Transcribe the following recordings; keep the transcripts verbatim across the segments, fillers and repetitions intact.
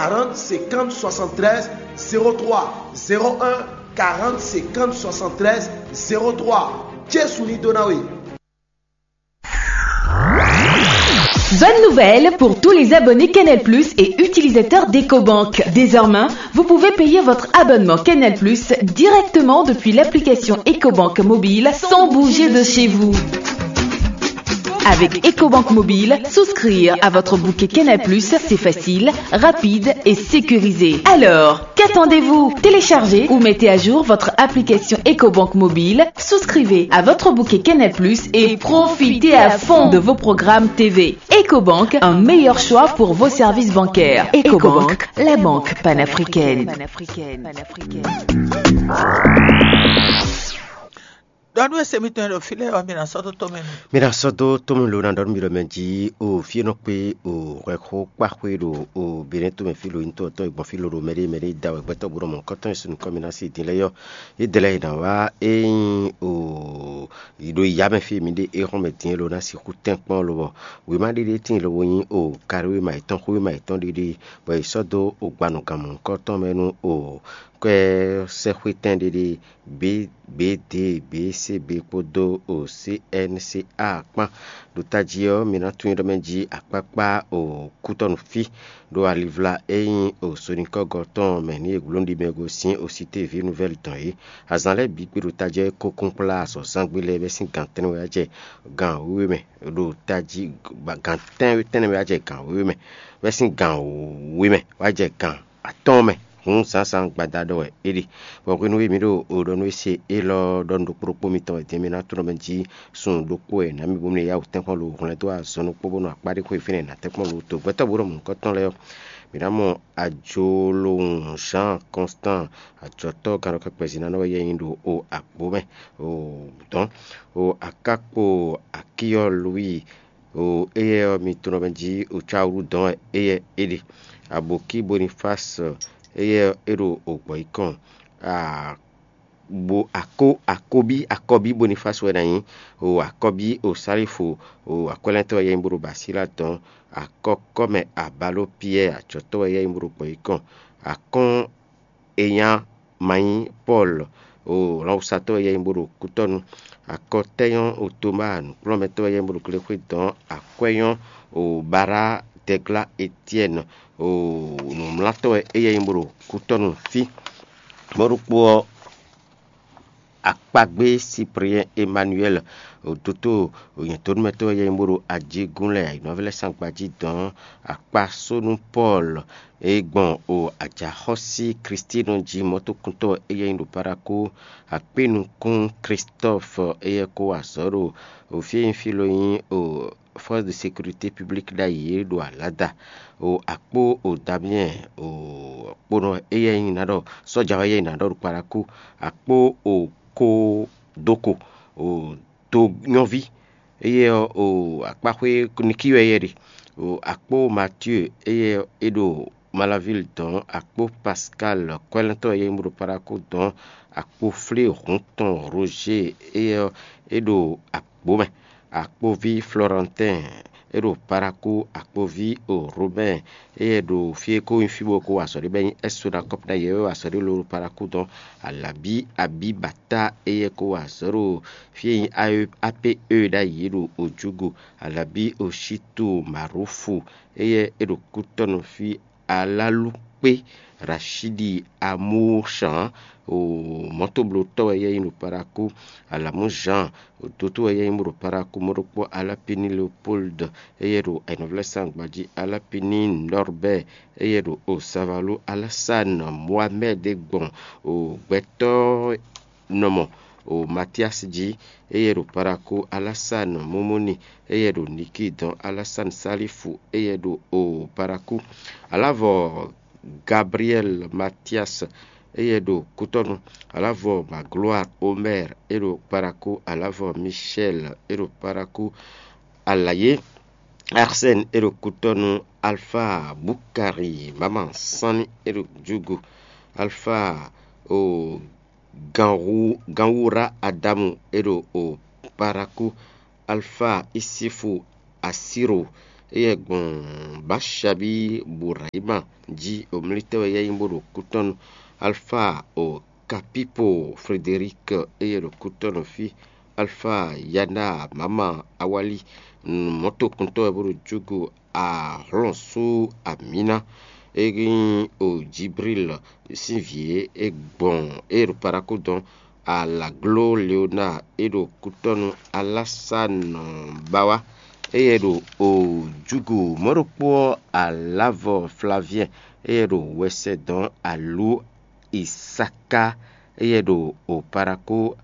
quarante cinquante soixante-treize zéro trois, zéro un quarante cinquante soixante-treize zéro trois. Jesu ní dó ná we. Bonne nouvelle pour tous les abonnés Canal Plus et utilisateurs d'EcoBank. Désormais, vous pouvez payer votre abonnement Canal Plus directement depuis l'application EcoBank mobile sans bouger de chez vous. Avec EcoBank mobile, souscrire à votre bouquet Canal Plus, c'est facile, rapide et sécurisé. Alors, qu'attendez-vous ? Téléchargez ou mettez à jour votre application EcoBank mobile, souscrivez à votre bouquet Canal Plus et profitez à fond de vos programmes T V. EcoBank, un meilleur choix pour vos services bancaires. EcoBank, la banque panafricaine. Ɖɔ nú ese mitɔn e ɖo fí lɛ́ɛ ɔ́, mi ná sɔ́ dó tɔ́ mɛ nu. Mi ná sɔ́ dó tɔ́ mɛ lo ná ɖɔ nú mi ɖɔ mɛ jí o fí e nɔ kpé o hwɛxó kpáxwé ɖo o Benɛ́ tomɛ fí lo nyitɔ́ tɔn e gbɔn fí lo ɖo mɛɖé mɛɖé da wɛ gbɛtɔ́ bó nɔ mɔ kɔ́tɔn e sun nukɔn mi ná sí din lɛ́ɛ yɔ́. Yě dɛ lɛ́ɛ yě ná wá é nyí o yi ɖo yǎ mɛ fí e mi ɖe é hɔn mɛ din é lo ná sixú tɛ́nkpɔ́n lobɔ wěma ɖé ɖé tíin lobo nyí o kaɖówéma yětɔn xwéma yětɔn ɖé ɖé bɔ è sɔ́ dó o gbanɔgan mɔ̌hunkɔtɔn mɛ nú o kwɛ́ sɛ́xwétɛn ɖé ɖé B B D B C B kpódó o C N C A kpán. Ɖo tají ɔ́, mi ná tunwun ɖɔ mɛ jí akpákpá o kútɔ́nu fí ɖo alivla e nyí o sonikɔ́gɔ́ tɔn mɛ nú e gló ɖi mɛ gosín o Cité Vie Nouvelle tɔn é. Azǎn lɛ́ɛ bǐ gbe ɖo tají ɔ́ é kó kún kplá azɔ̌zangbe lɛ́ɛ bɛ́ sín gan tɛ́nnɛ wɛ wá jɛ gan wěwe mɛ ɖo tají gan tɛ́nwe tɛ́nnɛ wɛ wá jɛ gan wěwe mɛ bɛ́ sín gan wěwe mɛ wá jɛ gan atɔ́ɔ́n mɛ. Hǔn zǎnzǎn gbada ɖɔ wɛ é ɖe. Bɔ hwenu e mǐ ɖo o ɖɔ nú é se élɔ́ ɖɔ nú ɖokpó ɖokpó mitɔn wɛ din mi ná tlɔ́n mɛ jí sun ɖokpó wɛ nǎ mi bú mi yá wǔ tɛ́nkpɔ́n lo hwlɛ́n dó azɔn ɖokpó bónú akpá ɖé xwé fínɛ́ nǎ tɛ́nkpɔ́n lo to gbɛtɔ́ bó ɖɔ mɔ̌hunkɔtɔn lɛ́ɛ ɔ́. Mǐ ná mɔ ajolowun Jean Constant ajɔ̌tɔ́ gannɔkɛkpɛzinánɔ wɛ yɛ nyi ɖo o àgbo mɛ o dɔn o akákpo akíyɔ Louis o éyɛ́ ɔ́ mi tunɔ mɛ jí o cáwúɖú dɔn wɛ éyɛ́ é ɖe. Abokí Bonifas éyɛ́ é ɖo o gbɔ̌ yí kɔn. Bo akó akóbí akɔbí Bonifas wɛ ná nyí o akɔbí o Sálífu o akwɛ́lɛ́ntɔ́ wɛ yɛ nyí bó ɖo Basíla dɔn. Akɔkɔ́mɛ Abaló Piyɛ́ɛ ajɔ̌tɔ́ wɛ yɛ nyí bó ɖo gbɔ̌ yí kɔn. Akɔ́n Enyá Mayín Pɔ́ɔl o lɔnwusatɔ́ wɛ yɛ nyí bó ɖo kútɔ́nu. Akɔtɛ́nyɔ́ o Tomáa nǔkplɔ́nmɛtɔ́ wɛ yɛ nyí bó ɖo glexwé dɔn. Akwɛ́nyɔ́ o Bará Dɛglá Etyɛ́n o nǔmlátɔ́ wɛ éyɛ́ nyí bó ɖo kútɔ́nu fí. Mɔ̌ ɖokpó ɔ́, akpagbé Cyprien Emmanuel o dótó nyɛ̌tónúmɛtɔ́ wɛ yɛ nyí bó ɖo ajégún lɛ́ɛ ayǐnɔ́vlɛ́sangbají dɔn akpasónú Pɔ́ɔl e gbɔn o ajaxɔ́sí Klístínɔ jí mɔ̌tokuntɔ́ éyɛ́ nyí ɖo Parakó. Akpínukún Klistɔ́f éyɛ́ kó wa azɔ̌ ɖo o fí e nyí fí lo nyí o Force de Sécurité Publique ɖ'ayǐ é ɖo alǎda. O akpó o Damien o kponɔ éyɛ́ nyí ná ɖɔ sɔ́ja ɔ́ éyɛ́ nyí ná ɖɔ ɖo Parakó. Akpó o kó dóko o do nyɔ́ví éyɛ́ ɔ́ o akpáxwé Nikíɔ éyɛ́ ɖe. O akpó Matíu éyɛ́ é ɖo Malavil dɔn akpó Paskal kwɛ́lɛ́ntɔ́ éyɛ́ nyí bó ɖo Parakó dɔn akpó flé hǔn tɔn Roger éyɛ́ ɔ́ é ɖo akpó mɛ. Akpoví Florentɛn é ɖo Parakú, akpoví o Robɛ́n éyɛ́ ɖo fí e ko nyí fí bó ko wa azɔ̌ ɖé bɔ é nyí Ɛ́sonakɔ́p ná yě wɛ wa azɔ̌ ɖé lóɖó Parakú dɔn. Alabí Abíbatá éyɛ́ ko wa azɔ̌ ɖo fí e nyí Apé ée ɖ'ayǐ ɖo Ojúgu. Alabí Oshítu Marúfu éyɛ́ é ɖo kútɔ́ nú fí Alálukpé Rashidi Amóchan o mɔ̌toblótɔ́ wɛ yɛ nyí ɖo Parakú. Alamú Jean o dótó wɛ yɛ nyí bó ɖo Parakú mɔ́ ɖokpó Alápini Leopold éyɛ́ ɖo ayǐnɔvlɛ́sán gbají Alápini Norbert éyɛ́ ɖo o Savalú Alásán Mohamed gbɔn o gbɛtɔ́ nɔmɔ o Matias jí éyɛ́ ɖo Parakú Alásán Momoni éyɛ́ ɖo Niki dɔn Alásán Salifu éyɛ́ ɖo o Parakú. Alavɔ Gabriel Matias éyɛ́ ɖo Kútɔ́nu. Alavɔ Magloire Omer é ɖo Parakú. Alavɔ Michel é ɖo Parakú. Alayé Arsène é ɖo Kútɔ́nu. Alpha Bukari Mama Sanni é ɖo Djúgu. Alpha o Ganwu Ganwura Adamu é ɖo o Parakú. Alpha Isifu Asiro éyɛ́ gbɔn Báṣabí Burayima jí omlítɛ́ wɛ éyɛ́ nyí bó ɖo kútɔ́nú. Alfa o Kapipo Frederic éyɛ́ ɖo kútɔ́nú fí. Alfa Yana Mama Awali mɔ̌tokuntɔ́ wɛ bó ɖo júgu ahlɔ́nsú amǐna. É nyí o Jibril sín vǐ e é gbɔn é ɖo Parakú dɔn. Alagló Leona é ɖo kútɔ́nú Alásánɔ ba wá. Éyɛ́ ɖo o júgu mɔ̌ ɖokpó ɔ́, Alávɔ Flaviɛn éyɛ́ ɖo wɛsɛ dɔn alǔ Isaka éyɛ́ ɖo o Parakú.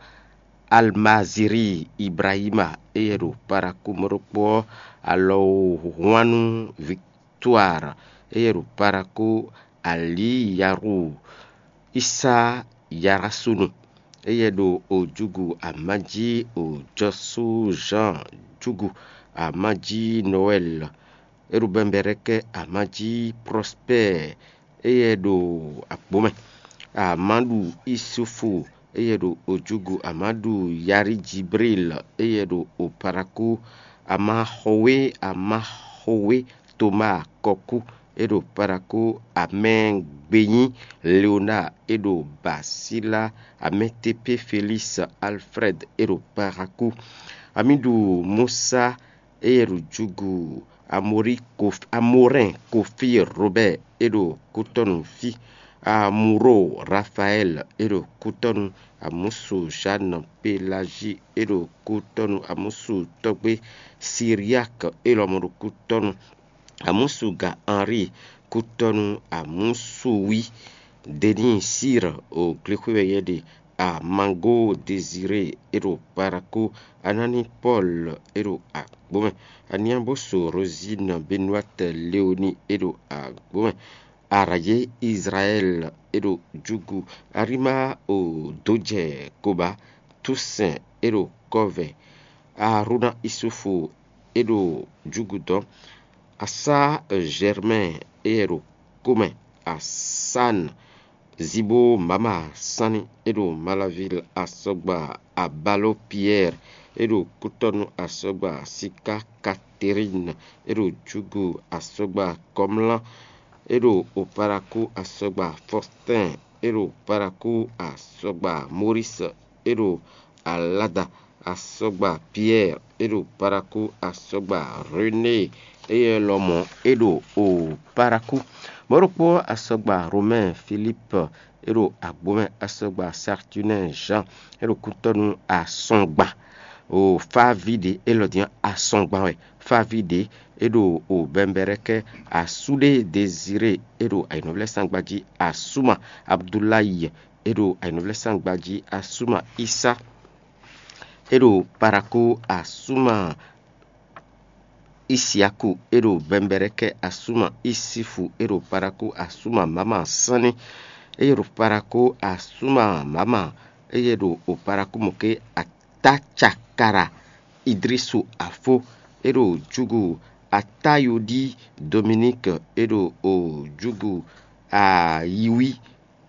Almaziri Ibrahima éyɛ́ ɖo Parakú mɔ̌ ɖokpó ɔ́, alɔwhwannu Victoire éyɛ́ ɖo Parakú. Aliyaru Isa Yarasunu éyɛ́ ɖo o júgu amají o Jɔsú Jean júgu amají Noël. É ɖo Bɛmbɛrɛkɛ amají Prospère éyɛ́ ɖo agbǒ mɛ. Amáɖu Isufu éyɛ́ ɖo ojúgu amáɖu Yari Jibril éyɛ́ ɖo oparakú. Amaxɔwé Amaxɔwé Toma Kɔkú é ɖo parakú. Amɛgbényí Leona é ɖo Basíla. Amɛtepé Felísi Alfrɛ́d é ɖo parakú. Amíɖu Musa éyɛ́ ɖo júgu Amorɛn Kofi Robɛ́ɛ é ɖo kútɔ́nu fí. Amuro Rafaɛ́l é ɖo kútɔ́nu. Amúsu Zǎn Pelázi é ɖo kútɔ́nu. Amúsu tɔ́gbé Siriak é lɔmɔ̌ ɖo kútɔ́nu. Amúsu ga Anri kútɔ́nu. Amúsu wí Deníi Sír o glexwé wɛ yɛ ɖe. Amango Dezirée é ɖo parakú. Anáni Pɔ́l é ɖo agbǒ mɛ. Aniábóso Rozín Benuát Leoni é ɖo agbǒ mɛ. Arayé Izlayɛ́l é ɖo júgu. Arímá o dǒjɛ Koba. Túsɛn é ɖo kɔ́vɛ. Arúná Isufu é ɖo júgu dɔn. Asá Zɛrmɛ́ɛ éyɛ́ ɖo kó mɛ. Asán Zibo Mama Sánni é ɖo Malavil asɔgba. Abalo Piyɛ́ɛ é ɖo kútɔ́nú asɔgba. Siká Katerín é ɖo júgu asɔgba. Kɔmlá é ɖo oparakú asɔgba. Fɔstɛ́n é ɖo parakú asɔgba. Moris é ɖo Alada asɔgba. Piyɛ́ɛ é ɖo parakú asɔgba. René éyɛ́ lɔmɔ̌ é ɖo oparakú. Mɔ̌ ɖokpó asɔgba Romɛ́ɛ Filíp é ɖo agbǒ mɛ asɔgba. Sartunɛ́ɛ Zan é ɖo kútɔ́nú asɔgba. O fáví ɖě élɔ́ din asɔgba wɛ. Fáví ɖě é ɖo o Bɛmbɛrɛ́kɛ́. Asúɖé Dezirée é ɖo ayǐnɔvlɛ́sangba jí. Asúma Abduláyi é ɖo ayǐnɔvlɛ́sangba jí. Asúma Isá é ɖo parakú. Asúma Isiaku é ɖo Bɛmbɛrɛ́kɛ́. Asúma Isifu é ɖo parakú. Asúma Mama Sánni é ɖo parakú. Asúma Mama éyɛ́ ɖo oparakú mɔ̌ké. Atácakara Idrisu Afó é ɖo júgu. Atáyodí Dominík é ɖo júgu. Ayiwí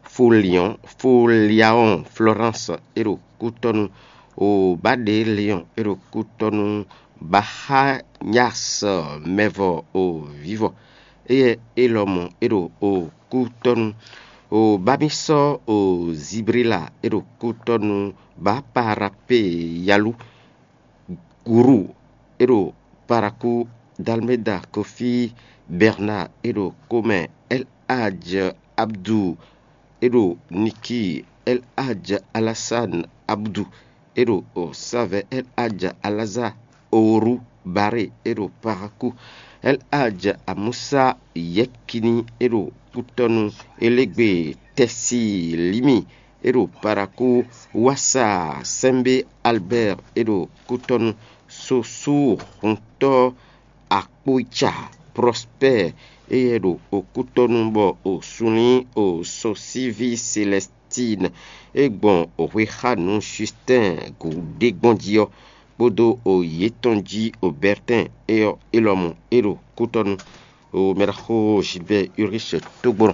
Foliɔn Foliaɔn Florence é ɖo kútɔ́nú. O Baɖe Leɔn é ɖo kútɔ́nú. Baxanyas Mɛvɔ o Vivɔ éyɛ́ é lɔmɔ̌ é ɖo o kútɔ́nú. O Bamisɔ o Zibrila é ɖo kútɔ́nú. Baparapé Yalu Guru é ɖo parakú. Dalmeda Kofi Bernard é ɖo kómɛ. El Hadj Abdu é ɖo Niki. El Hadj Alasan Abdu é ɖo Osavɛ. El Hadj Alaza Oru Bare é ɖo parakú. El Hadj Amusa Yɛkini é ɖo kútɔ́nú. Elégbé Tɛsilimi é ɖo parakú. Wasa Sɛmbé Albert é ɖo kútɔ́nú. Sosu huntɔ́ Akpóica Prospère éyɛ́ ɖo okútɔ́nú bɔ o sunlín o sɔsíví Selɛstín é gbɔn hwexánu Justɛ́n gǔɖé gbɔn jí ɔ́, kpódó o yětɔn jí o Bɛrtɛ́n é ɔ́, é lɔmɔ̌ é ɖo kútɔ́nú. O mɛɖaxó Gilbert Ulrich tógbɔ́nɔ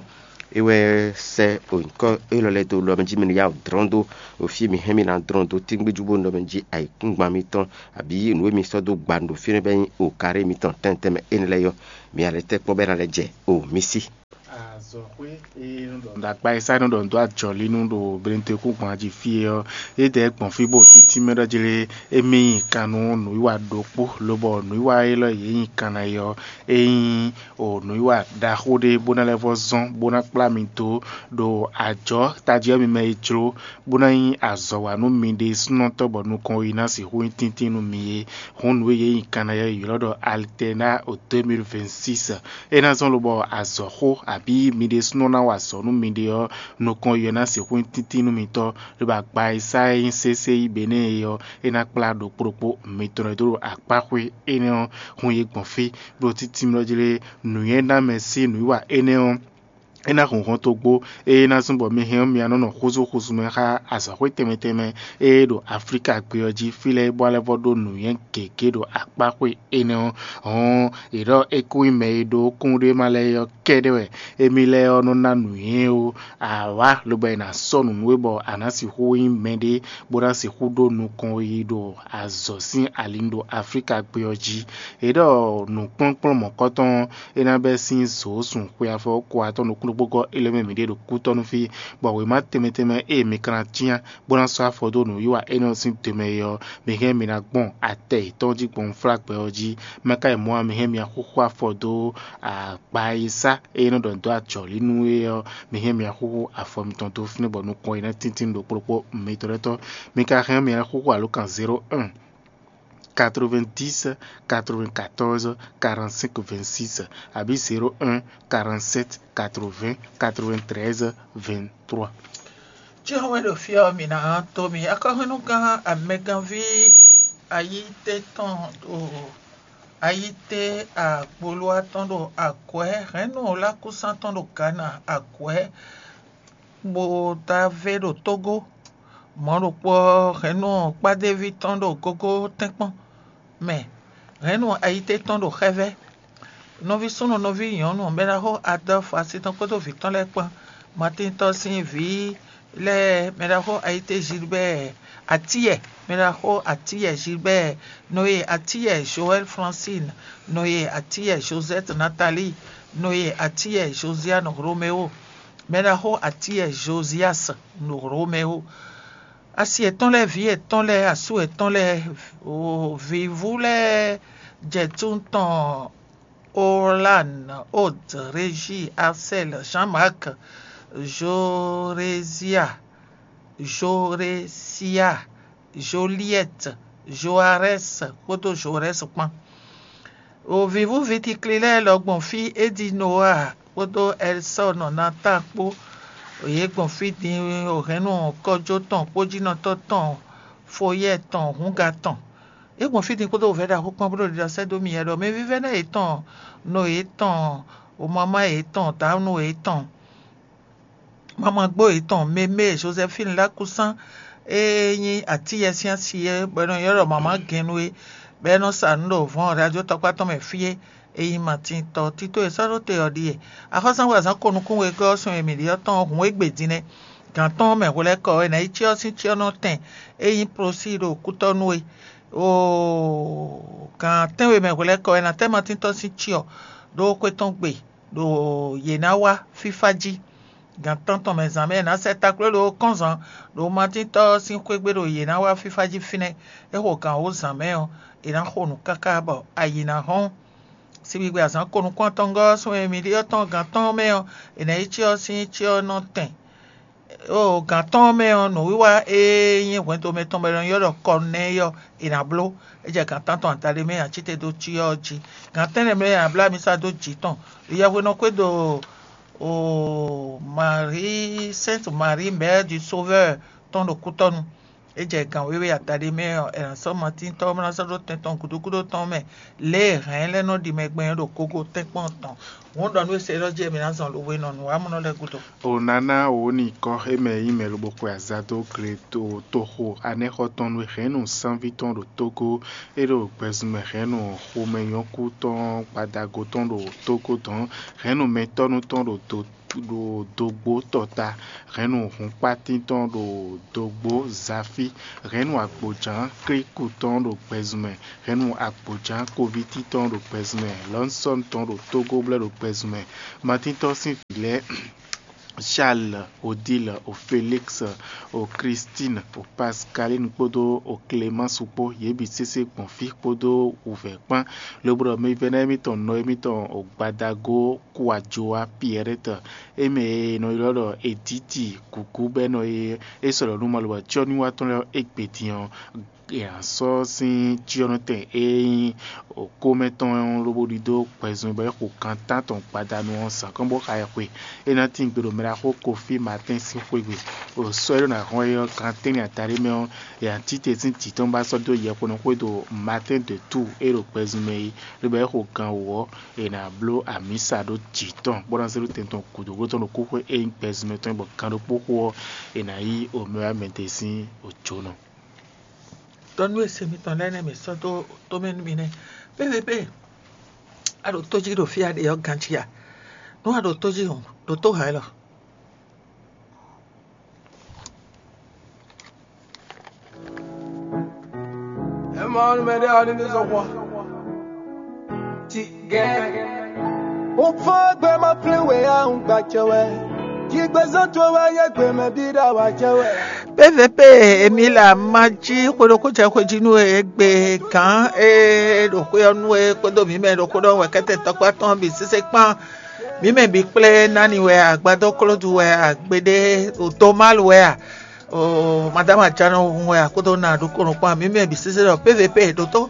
É wɛ sɛ́ nyǐkɔ élɔ́ lɛ́ɛ dó lɔ mɛ jí mɛ ní yá wǔ dlɔ́n dó ɖo fí e mi hɛn mì ná dlɔ́n dó tíngbéjú bó nɔ mɛ jí ayǐkúngban mitɔn, abǐ nǔ e mi sɔ́ dó gba ɖo fínɛ́ bɛ́ nyí okaré mitɔn tɛntɛn mɛ énɛ́ lɛ́ɛ ɔ́, mi ná lɛ́ tɛ́ kpɔ́n bɔ é ná lɛ́ jɛ o mi sí. Azɔ̌xwé e nɔ ɖɔ nǔ ɖagba e sá nɔ ɖɔ nǔ dó ajɔ̌línú ɖo Blɛ́nútɔn-yíkúngban jí fí é ɔ́, é dɛ̌ gbɔn fí bó títí mɛ ɖɔ jlé émí nyi kan nú nǔwiwa ɖokpó, lobɔ nǔwiwa élɔ́ yě nyi kan ná é ɔ́, é nyí o nǔwiwa ɖaxó ɖé bó ná lɛ́ vɔ́ zɔ́n bó ná kplá mi dó ɖo ajɔ̌ tají ɔ́ mi mɛ e jló, bó ná nyí azɔ̌ wa nú mi ɖésúnɔtɔ́ bɔ nukɔn yi ná sixú nyí tíntín nú mi é. Hǔn nǔ e yě nyi kan ná é ylɔ́ ɖɔ Alternat o deux mille vingt-six. É ná zɔ́n lobɔ azɔ̌xó abǐ mi ɖésúnɔ ná wa azɔ̌ nú miɖée ɔ́, nukɔn yi ɔ́ ná sixú nyí tíntín nú mitɔ́, lobɔ agba e sá e nyí sésé yi Benɛ́ɛ é ɔ́, é ná kplá ɖokpó ɖokpó mitɔn e dó ɖo akpáxwé énɛ́ ɔ́ hun yě gbɔn fí, ɖó títí mlɔ́ jlé nǔnywɛ́ ná mɛ sín nǔwiwa énɛ́ ɔ́, é ná hun hɔntogbó, ée ná zɔ́n bɔ mi hɛn ɔ́ mi ná nɔ xúzú xúzú mɛ xá azɔ̌xwé tɛnmɛ tɛnmɛ e ɖo Aflíka gbé ɔ́ jí fí lɛ́ɛ bó ná lɛ́ vɔ́ ɖó nǔnywɛ́ gěgé ɖo akpáxwé énɛ́ ɔ́. Hɔn è ɖɔ é kún nyí mɛ e ɖó kúnɖéma lɛ́ɛ ɔ́ kɛ́ɖɛ́ wɛ émí lɛ́ɛ ɔ́ nɔ ná nǔnywɛ́ ó. A wǎ lobo è nǎ sɔ́ nǔ nú we bɔ a nǎ sixú nyí mɛɖé bó ná sixú ɖó nukɔn yi ɖo azɔ̌ sín ali ɖo Aflíka gbé ɔ́ jí. È ɖɔ nǔkplɔ́nkplɔ́n mɔ̌kɔtɔn ɔ́, é ná bɛ́ sín zǒ sun xwe afɔ ko atɔ́ɔ́n nukún ɖokpó gɔ́ é lɛ́ mɛ mǐ ɖe ɖo kútɔ́ nú fí, bɔ wěma tɛnmɛ tɛnmɛ e mi ka ná cyán bó ná sɔ́ afɔ dó nǔwiwa énɛ́ ɔ́ sín dǒ mɛ é ɔ́, mi hɛn mi ná gbɔn atɛ yětɔn jí gbɔn unflágbɛ ɔ́ jí. Mɛ ka yi mɔ̌ ǎ, mi hɛn mi ná xúxú afɔ dó agba e sá e nɔ ɖɔ dó ajɔ̌lí nú é ɔ́, mi hɛn mi ná xúxú afɔ mitɔn dó fínɛ́ bɔ nukɔn e ná tíntín ɖokpó ɖokpó mitɔn lɛ́ɛ tɔn. Mi ka hɛn mi ná xúxú alǒkan zéro un, quatre-vingt-dix, quatre-vingt-quatorze, quarante-cinq, vingt-six, abǐ zéro un, quarante-sept, quatre-vingts, quatre-vingt-treize, vingt-trois. Jihɔn wɛ ɖo fí ɔ́, mǐ ná to mì akɔhwɛ́núgán amɛgánví ayíté tɔn ɖo ayíté agbolúwa tɔn ɖo akwɛ̌, hɛ̌nnu lákúsán tɔn ɖo Gana akwɛ̌, bó dó avé ɖo Tógó. Mɔ̌ ɖokpó ɔ́, hɛ̌nnu kpádéví tɔn ɖo gógó tɛ́nkpɔ́n mɛ, hɛ̌nnu ayíté tɔn ɖo xɛ́vɛ́. Nɔví súnnu, nɔví nyɔ̌nu, mɛ ɖaxó Adɔ́fu asi tɔn kpódó vǐ tɔn lɛ́ɛ kpán, Matín tɔn sín vǐ lɛ́ɛ, mɛ ɖaxó Ayité Gilbert Atiyɛ, mɛ ɖaxó Atiyɛ Gilbert, Noé Atiyɛ Joël Francine, Noé Atiyɛ Josette Nathalie, Noé Atiyɛ Josiane Roméo, mɛ ɖaxó Atiyɛ Josias Roméo. Asi yětɔn lɛ́ɛ, vǐ yětɔn lɛ́ɛ, asú yětɔn lɛ́ɛ, vǐvú lɛ́ɛ jɛ tún tɔn Olan, Od, Régi, Asɛl, Jean-Marc, Jorézia, Jorésia, Joliɛt, Joarɛ́s kpódó Jorɛ́s kpán. O vǐvú vitikli lɛ́ɛ lɔ gbɔn fí Edinoa kpódó Ɛlsɔ́ɔn Natáan kpó, yě gbɔn fí din o hɛ̌nnu kɔjó tɔn kpójínɔtɔ́ tɔn, Foyɛ́ɛ tɔn, Hǔnga tɔn. Yě gbɔn fí din kpódó wǔvɛ́ ɖaxó kpán bó ɖo ɖiɖɔ sɛ́ dó mì wɛ ɖɔ mɛ vívɛ́ná yětɔn, nɔ yětɔn, o mamá yětɔn, dǎnú yětɔn, mamagbó yětɔn, Mémé Joséphine Lákúsán, e nyí Atiyɛ sín asi é, bɔ è nɔ ylɔ́ ɖɔ mamá gɛnnu é, bɔ é nɔ sa nǔ ɖo vɔ̌n radio tɔkpá tɔn mɛ fí é. E nyí Matín tɔ tito e sɔ́ ɖó te ɔ́ ɖíe. Axɔ́súzangbe azǎn ko nukún wegɔ́ ɔ́ sun e mǐ ɖe ɔ́ tɔn ɔ́ hun égbé din nɛ́. Gǎn tɔn mɛ hwelɛ́kɔ ɔ́, è nǎ yi cyɔ sín cyɔ́nɔ tɛn e nyí Prosíi ɖo kútɔ́ nú é. Oo, gǎn tɛ́nwe mɛ hwelɛ́kɔ ɔ́, è nǎ tɛ́ Matín tɔn sín cyɔ ɖó xwé tɔn gbe, ɖo yě ná wá fífá jí. Gǎn tántɔn mɛ zǎn mɛ è nǎ sɛ takló ɖó kɔ́nzan ɖo Matín tɔ́ ɔ́ sín xwé gbe ɖo yě ná wá fífá jí fínɛ́. É xo gǎn wǒ zǎn mɛ ɔ́, è nǎ xo nǔ káká bɔ ayǐ ná hɔ́n. Sigbigbe azǎn ko nukún atɔngɔ́ ɔ́ sún e mǐ ɖe ɔ́ tɔn gǎn tɔn ɔ́ mɛ ɔ́, è nǎ yi cyɔ ɔ́ sín cyɔ ɔ́ nɔ tɛn. Oo, gǎn tɔn ɔ́ mɛ ɔ́, nǔwiwa e nyí hwɛndo mɛtɔn bɔ è nɔ ylɔ́ ɖɔ Kɔnɛ́yi ɔ́, è nǎ bló. É jɛ gǎn tántɔn adaɖé mɛ e ǎ cíte dó cyɔ ɔ́ jí. Gǎn tɛ́nnɛ mɛ e è nǎ bló ami sá dó jǐ tɔn. Yɛhwenɔ́ xwédo oo, Marie, Sainte Marie, Mère du Sauveur tɔn ɖo kútɔ́nu. É jɛ gǎn wéwé adaɖé mɛ ɔ́, è nǎ sɔ́ Matín tɔn ɔ́ bó ná sɔ́ ɖó tɛn tɔn gǔdo gúdo tɔn mɛ, lě e hɛ̌n lɛ́ɛ nɔ ɖi mɛ gbɛn ɔ́ ɖo gogo tɛ́nkpɔ́n tɔn. Hǔn ɖɔ nú we se ɖɔ jí mǐ ná zɔn lobo e nɔ nǔwamɔnɔ lɛ́ɛ gúdo. O nǎ ná wǒ nyi kɔ́ e mɛ nyí mɛ lobo xwe azado gle to toxo anɛ́xɔ tɔn nú hɛ̌nnu sánví tɔn ɖo Tógó, é ɖo gbɛzunmɛ hɛ̌nnu xomɛnyɔ́kú tɔn gbadago tɔn ɖo Tógó dɔn, hɛ̌nnu mɛtɔ́nu tɔn ɖo do ɖo dogbo tɔta, hɛnnu hǔnkpátín tɔn ɖo dogbo zafi, hɛnnu agbojǎn klíku tɔn ɖo gbɛzunmɛ, hɛnnu agbojǎn kovítí tɔn ɖo gbɛzunmɛ, lɔnsɔn tɔn ɖo tógó blɛ́ ɖo gbɛzunmɛ, matíntɔ́ sín vǐ lɛ́ɛ Charles, Odile, o Félix, o Christine, o Pascaline kpódó o Clémence kpó, yě bǐ sésé gbɔn fí kpódó wǔvɛ́ kpán, lobo ɖɔ mɛvɛ́ná émítɔn nɔ émítɔn o gbadago Kuajoa Pierrette, é mɛ e è nɔ ylɔ́ ɖɔ Editi Gǔgú bɔ é nɔ e é sɔ́ ɖɔ nú malobǎcyɔ́núwatɔ́ lɛ́ɛ égbé din ɔ́, è nǎ sɔ́ sín cyɔ́nɔtɛn e nyí kómɛ tɔn ɔ́ lobo ɖidó gbɛzun bɔ é xo gan tántɔn gbadanu ɔ́ zǎn kɔn bó xa ɛ xwe. É ná tín gbe ɖo mɛɖaxó Kofi Matɛ́n sín xwé gbe. Sɔ́ e ɖó ná hɔn é ɔ́, gan tɛ́nwe adaɖé mɛ ɔ́, è nǎ tite sín jǐ tɔn bó ná sɔ́ dó yɛkponɔ xwé do Matɛ́n de Tuu e ɖo gbɛzun mɛ é, lobo é xo gan wǒ ɔ́, è nǎ bló amǐsa ɖó jǐ tɔn bó ná zé ɖó tɛn tɔn gǔdo bó tɔn ɖo kúxwé e nyí gbɛzun mɛ tɔn é, bɔ gan ɖokpó xo ɔ́, è nǎ yí omɛwámɛdé sín òjǒnɔ. Dɔnú e se mitɔn lɛ́ɛ nɛ́ mǐ sɔ́ dó tomɛ nú mi nɛ́. Pépépé, a ɖo tó jí ɖo fí a ɖe ɔ́ ganjí a? Nú a ɖo tó jí hɔn, ɖo tó hǎn élɔ́. Ema ɔ́, nú mɛɖé ɔ́ ní ní zɔn hwa. Ti gɛ́. Un fɔ́n gbé ma flín we a un gbacɛ wɛ. Jigbezɔn towe wɛ nyɛ gbemɛ bí ɖa wá jɛ wɛ. P V P, èmi là má jí xwe ɖokpó jɛ xwe jí nú e gbe gǎn e ɖo xwé ɔ́ nú e kpódó mǐ mɛ ɖokpó ɖɔhun wɛ kɛ́tɛn tɔkpá tɔn bǐ sésé kpán. Mǐ mɛ bǐ kplé nani wɛ a? Agbadó klódu wɛ a? Gbeɖé o tomálu wɛ a? O madáma jánɔ hun wɛ a? Kpódó na ɖokpónɔ kpán mǐ mɛ bǐ sésé ɖɔ P V P ɖótó.